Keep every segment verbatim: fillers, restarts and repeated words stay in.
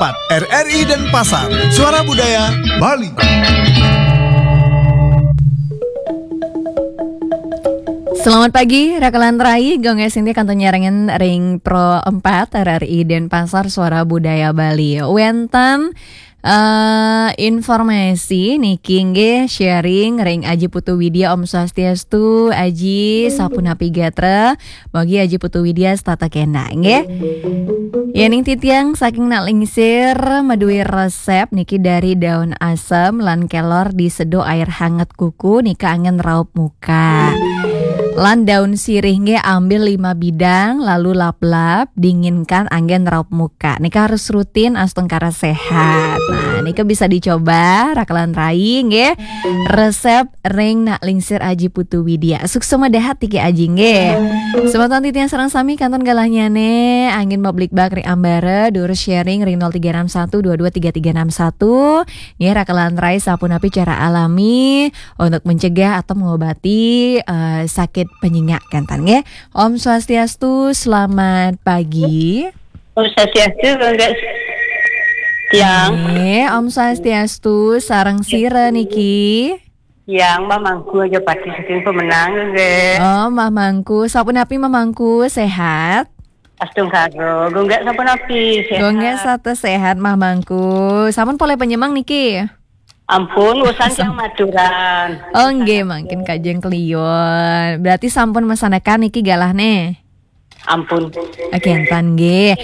empat, R R I Denpasar, Suara Budaya Bali. Selamat pagi, Rakalan Rai, Gong Sinti kantun nyarengan ring Pro empat, R R I Denpasar, Suara Budaya Bali. Wénten eh, informasi niki nggih, sharing ring Aji Putu Widya. Om Swastiastu, Aji, sapunapi gatra? Mugi Aji Putu Widya setata kénak nggih. Yéning titiang saking Nak Lingsir, madué resep niki dari daun asem lan kelor diseduh air hangat kuku nika anggén raup muka. Lan daun sirih nggih ambil lima bidang lalu lap-lap, dinginkan anggén raup muka. Nika harus rutin astungkara sehat. Nah, nika bisa dicoba Rakalan Rai nggih. Resep ring Nak Lingsir Aji Putu Widya. Suksma dahat tiki Aji nggih. Semeton titiang sareng sami kantun galahnyané anggén mablikbak ring ambara, durus sharing ring nol tiga enam satu dua dua tiga tiga enam satu. Nggih, Rakalan Rai, sapunapi cara alami untuk mencegah atau mengobati eh, sakit penyingak kénten nggih. Om Swastiastu, selamat pagi. Om Swastiastu, Bunda. Tiang. Nggih, Om Swastiastu, sareng sira niki? Tiang Mbah Mangku Aja Pati saking Pemenang, nggih. Oh, Mbah Mangku, sapunapi Mbah Mangku, sehat? Astungkara, Gung Gék sapunapi, sehat? Gung Gék sata sehat, Mbah Mangku. Sampun polih Panyemeng niki? Ampun, wusan tiang maturan. Oh, nggih, mangkin kajeng kliun. Berarti sampun masandekan niki galahné? Ampun. Oké, kénten nggih.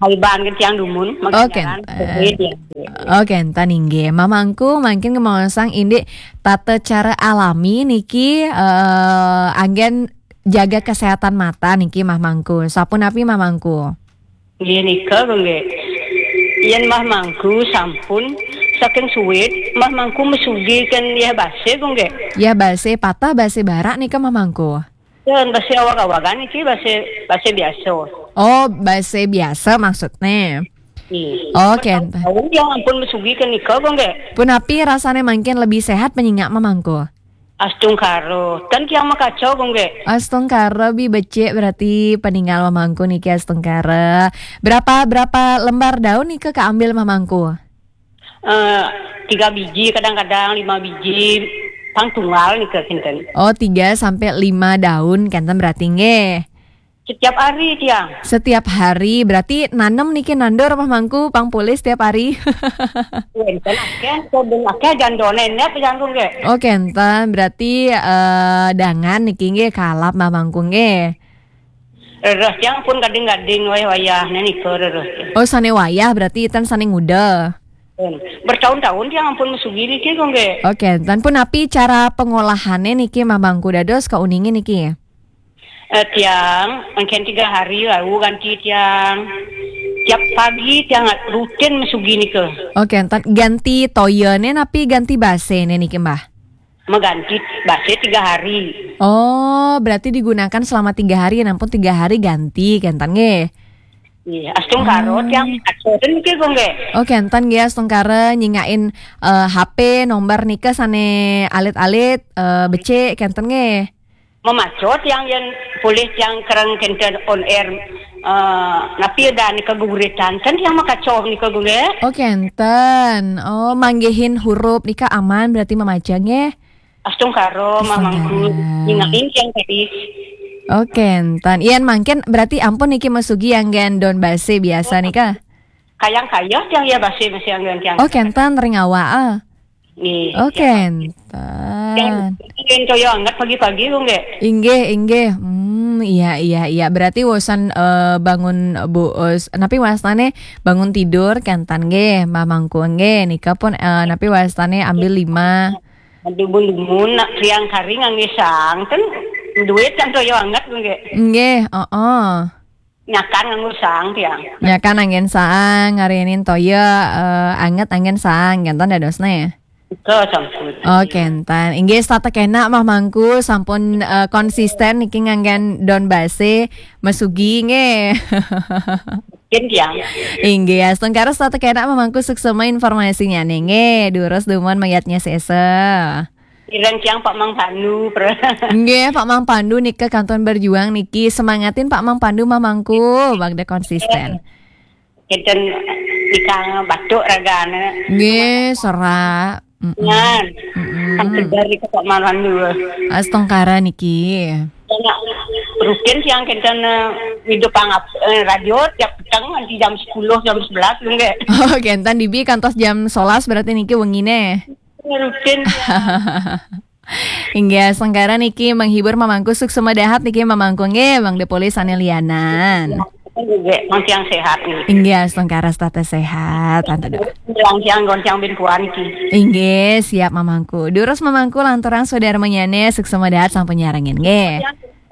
Haiban kan tiang dumun, oh, makin jalan, kénten. Oké, kénten nggih. Mbah Mangku, mangkin kemaosang indik tata cara alami niki eh, anggén jaga kesehatan mata niki, Mbah Mangku. Sapunapi, Mbah Mangku? Nggih nika, Gung Gék. Yén Mbah Mangku sampun saking suwit, Mbah Mangku mesugi kan Yah Basé, Gung Gék. Yah Basé, patah Basé barak nika, Mbah Mangku? Yén Basé awag-awagan niki Basé, Basé biasa. Oh, Basé biasa maksudné. Nggih. Oh, kénten. Bertahun-tahun tiang ampun mesugi kan nika, Gung Gék. Punapi rasané mangkin lebih sehat penyingak, Mbah Mangku? Astungkara. Kan tiang makaca, Gung Gék. Astungkara, bi becik berarti peningal Mbah Mangku niki astungkara. Berapa, berapa lembar daun nika kaambil Mbah Mangku? Eh, tiga biji, kadang-kadang lima biji, pang tunggal nika kénten. Oh, tiga sampai lima daun kénten berarti nggih. Setiap hari tiang. Setiap hari, berarti nanem niki nandur Mbah Mangku, pang polih setiap hari? Wénten akéh, kebun akéh, jando nénék, Gung Gék. Oh, kénten, berarti eh, dangan niki nggih kalap Mbah Mangku nggih. Rereh tiang pun gading-gading wayah-wayah, nah nika rereh tiang. Oh, sané wayah berarti ten sané nguda. Bertahun-tahun tiang ampun mesugi niki, Gung Gék. Oh, kénten, punapi cara pengolahané niki Mbah Mangku dados kauningin niki? Eh, tiang, mangkin tiga hari lalu ganti tiang. Tiap pagi tiang rutin mesugi nika. Oh, kénten, ganti toyané napi ganti baséné niki, Mbah? Mengganti basé tiga hari. Oh, berarti digunakan selama tiga hari, nampun tiga hari ganti, kénten nggih? Iya, astungkara tiang atur niki, Gung Gék. Oh, kénten nggih, astungkara nyingakin eh, H P nomor nika sané alit-alit, eh, becik, kénten nggih? Mamaca tiang yén polih tiang kereng kénten on air, eh, napi dah nika geguritan. Kan tiang makaca nika, Gung Gék. Oh, kénten. Oh, manggihin huruf nika aman berarti mamaca nggih? Astungkara, Mbah Mangku. Astungkara. Nyingakin tiang tadi. Oh, kénten. Yén mangkin berarti ampun niki mesugi anggén daun basé biasa nika? Kayang kayeh tiang Yah Basé masih anggén tiang. Oh, kénten ring awak, ah. Nggih. Oh, kénten. Tiang, tiang toya anget pagi-pagi, Gung Gék. Inggih, inggih. Hmm, iya, iya, iya. Berarti wusan eh, bangun bu, eh, napi wastané bangun tidur kénten nggih, Mbah Mangku nggih. Nika pun eh, napi wastané ambil lima. Dumun-dumun nak tiang kari nganggé saang, kan duit kan toya anget, Gung Gék. Nggih, heeh. Nyakan nganggo saang tiang. Nyakan anggén saang, ngarinin toya eh, anget anggén saang, kénten dadosné. Nika sampun. Oh, kénten. Inggih, setata kénak Mbah Mangku sampun eh, konsisten niki nganggén daun basé mesugi nggih. Mungkin tiang. Inggih, astungkara setata kénak Mbah Mangku, suksma informasinyané nggih. Durus dumun mayadnya sesa. Kirang tiang Pak Mang Pandu, Pra. Nggih, Pak Mang Pandu nika kantun berjuang niki. Semangatin Pak Mang Pandu, Mbah Mangku, bagda konsisten. Kénten Dikang batuk ragane. Nggih, serak. Mm-mm. Ngan. Mm-mm. Kan segar iki kok malam dua. Astungkara niki. Anak rutin siang kenten, eh, hidup pangap, eh, radio tiap peteng nanti jam sepuluh, jam sebelas, enggak? Oh, kenten dibi kantos jam sebelas berarti niki wengine. Rutin siang. Inggih, astungkara niki menghibur mamangku, suksma dahat niki mamangku nggih, Mang Depoli sane lianan. Nggih, Mang Tiang sehat nggih. Inggih, astungkara setata sehat, antuk. Bilang siang goncang bin puan niki. Inggih, siap mamangku. Durus mamangku lanturang saudara menyane, suksma dahat sampun nyarengin nggih.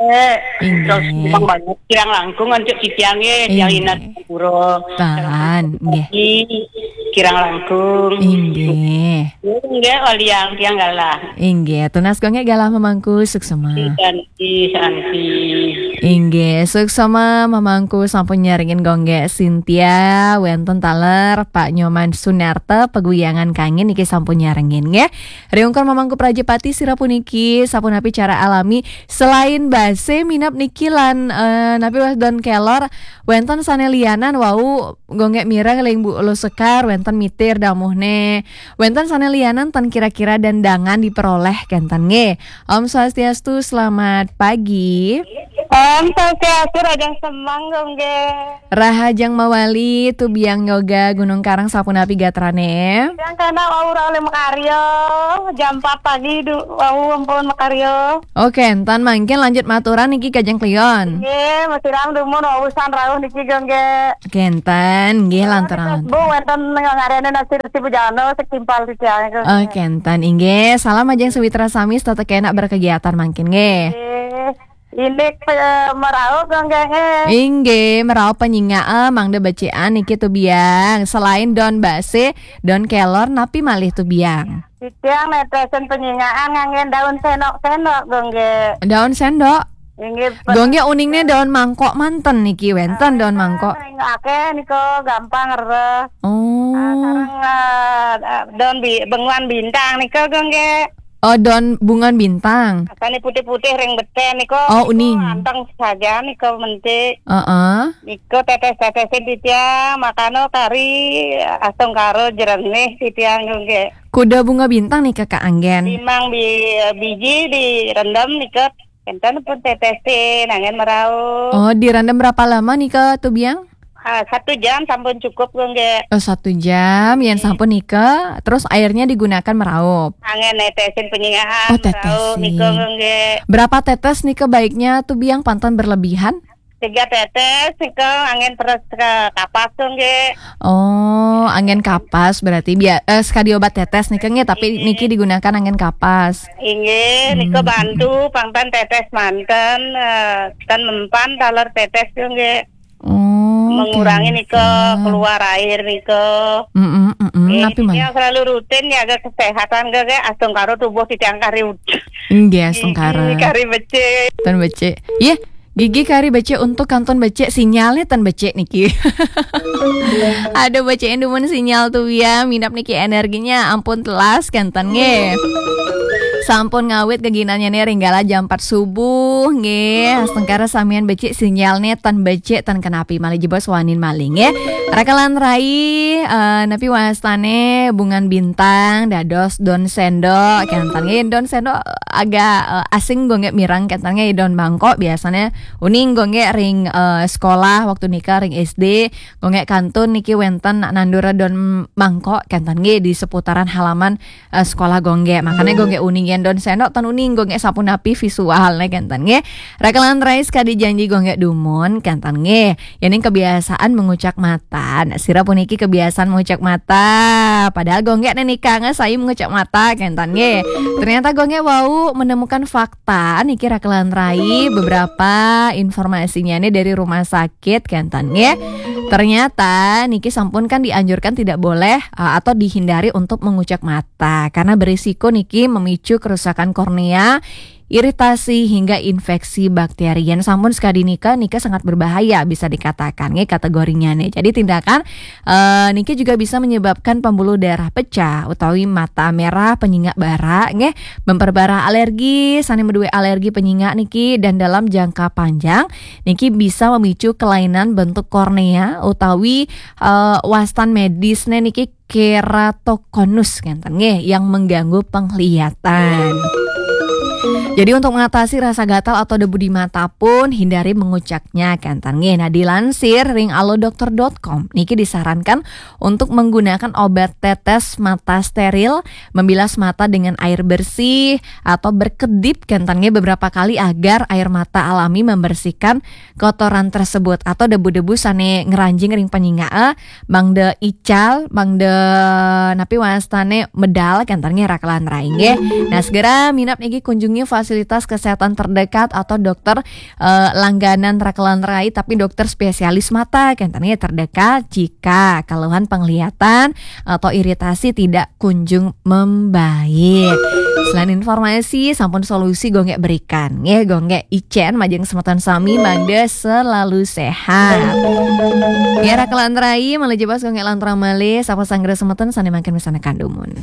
Eh, inggih. Terus memang banyak kirang langkung untuk titiang nggih, tiang inat pura. Tan, nggih. Kirang langkung. Inggih. Nggih, waliang tiang galah. Inggih, tunas gongge galah mamangku, suksma. Santi, santi. Inggih, suksma mamangku sampun nyarengin gongge Sintia, wenten taler Pak Nyoman Sunarta, peguyangan kangin niki sampun nyarengin nggih. Riungkur mamangku Prajapati sira puniki sapunapi cara alami selain base minab niki lan, eh, napi was don kelor, wenten sane lianan wau gongge mireng ling Bu Ulu Sekar, wenten mitir damuhne. Wenten sane lianan tan kira-kira dandangan diperoleh kenten nggih. Om Swastiastu, selamat pagi. Om Swastiastu, Rahajeng Semeng gongge. Rahajeng mawali, Tubiang Yoga Gunung Karang sapunapi gatrane? Yang kena wau rauh le makarya, jam empat pagi du-, wau ampun makarya. Oke, entan mangkin lanjut maturan niki kajeng klion. Nggih, masiram dumun wau san rauh niki gongge. Kenten, nggih, lantaran. Bu, wenten ngarene nasi resi bujana, setimpal titiang itu. Oh, kenten, inggih. Salam ajeng sawitra sami, tetep kena berkegiatan mangkin nggih. Nggih. Indik pe-, meraup gongge nggih. Inggih, meraup penyinga, eh, mangda becikan niki Tubiang. Selain don base, don kelor, napi malih Tubiang? Titiang netesen penyingaan nganggen daun sendok-sendok gongge. Daun sendok? Inggih, pe- Gongge uningne daun mangkok manten niki, wenten daun mangkok. Ring akeh nika gampang rereh. Oh. Ah, sareng, ah, ah, daun bi-, benguan bintang nika gongge. Oh, daun bungan bintang. Asane putih-putih ring beten nika. Oh, nika uning. Anteng saja nika mentik. Heeh. Nika tetes-tetesin titiang, makana kari astungkara jerenih titiang gongge. Kuda bunga bintang nika kaanggen. Limang bi-, biji direndam nika. Enten pun tetesin, angin meraup. Oh, direndam berapa lama nika, Tubiang? Ah, satu jam sampun cukup, gongge. Oh, satu jam, yen sampun nika, terus airnya digunakan meraup. Angin netesin penyingaan, oh, meraup nika, tetesin. Gongge. Berapa tetes nika baiknya, Tubiang, panten berlebihan? Tiga tetes nika angin terus ke kapas, gongge. Oh, angin kapas berarti bia-, eh, sekali obat tetes nika nggih, tapi niki digunakan angin kapas. Inggih, nika bantu pangtan tetes manten, eh, tan mempan taler tetes, gongge. Oh, mengurangi nika keluar air nika. Mm-mm, mm-mm. Eh, napi malih? Yang selalu rutin jaga kesehatan, gongge, astungkara tubuh titiang kari ud-, inggih, astungkara. Gigi kari becik. Tan becik. Yeh, gigi kari becik untuk kantun becik, sinyalnya tan becik niki. Aduh, becik dumun sinyal Tubiang, minab niki energinya ampun telas kenten nggih. Sampun ngawit geginannya nih ring galah jam empat subuh nggih. Astungkara samian becik sinyalnya tan becik tan kenapi malih jebos wanin malih nggih. Rakalan rai, eh, napi wastane bungan bintang dados don sendok kenten nggih. Don sendok agak, eh, asing gongge mireng kenten nggih, don mangkok biasanya uning gongge ring, eh, sekolah waktu nika ring S D, gongge kantun niki wenten nak nandur don mangkok kenten nggih di seputaran halaman, eh, sekolah gongge. Makanya gongge uning yen don sendok tan uning gongge sapunapi visualnya kenten nggih. Rakalan rai sekadi janji gongge dumun kenten nggih. Yening kebiasaan mengucak mata. Nah, sira puniki kebiasaan mengucak mata. Padahal gongge nika ngesai mengucak mata kenten nggih. Ternyata gongge wau menemukan fakta niki rakalan rai, beberapa informasinya nih dari rumah sakit kenten nggih. Ternyata niki sampun kan dianjurkan tidak boleh, eh, atau dihindari untuk mengucak mata karena berisiko niki memicu kerusakan kornea iritasi hingga infeksi bakteri. Yen sampun sekadi nika, nika sangat berbahaya bisa dikatakan nggih kategorinya nih. Jadi tindakan eh, niki juga bisa menyebabkan pembuluh darah pecah utawi mata merah, penyingak bara nggih, memperparah alergi, sane meduwe alergi penyingak niki, dan dalam jangka panjang niki bisa memicu kelainan bentuk kornea utawi eh, wastan medisne niki keratokonus ngenten nggih, yang mengganggu penglihatan. Jadi untuk mengatasi rasa gatal atau debu di mata pun hindari mengucapnya kenten nggih. Nah, dilansir ring alodokter dot com niki disarankan untuk menggunakan obat tetes mata steril, membilas mata dengan air bersih atau berkedip kenten nggih beberapa kali agar air mata alami membersihkan kotoran tersebut atau debu-debu sane ngeranjing ring penyingak, eh, mangde ical, mangde napi wastane medal kenten nggih rakelan rai nggih. Nah, segera minap niki kunjungi fasilitas kesehatan terdekat atau dokter eh, langganan rakelan rai tapi dokter spesialis mata kenten nggih terdekat jika keluhan penglihatan atau iritasi tidak kunjung membaik. Selain informasi, sampun solusi gonggek berikan nggih, gonggek icen majeng semeton sami mangde selalu sehat. Ya, rakelan rai, malih jebos gonggek lanturang malih, sapa sanggra semeton sane mangkin misanekan dumun.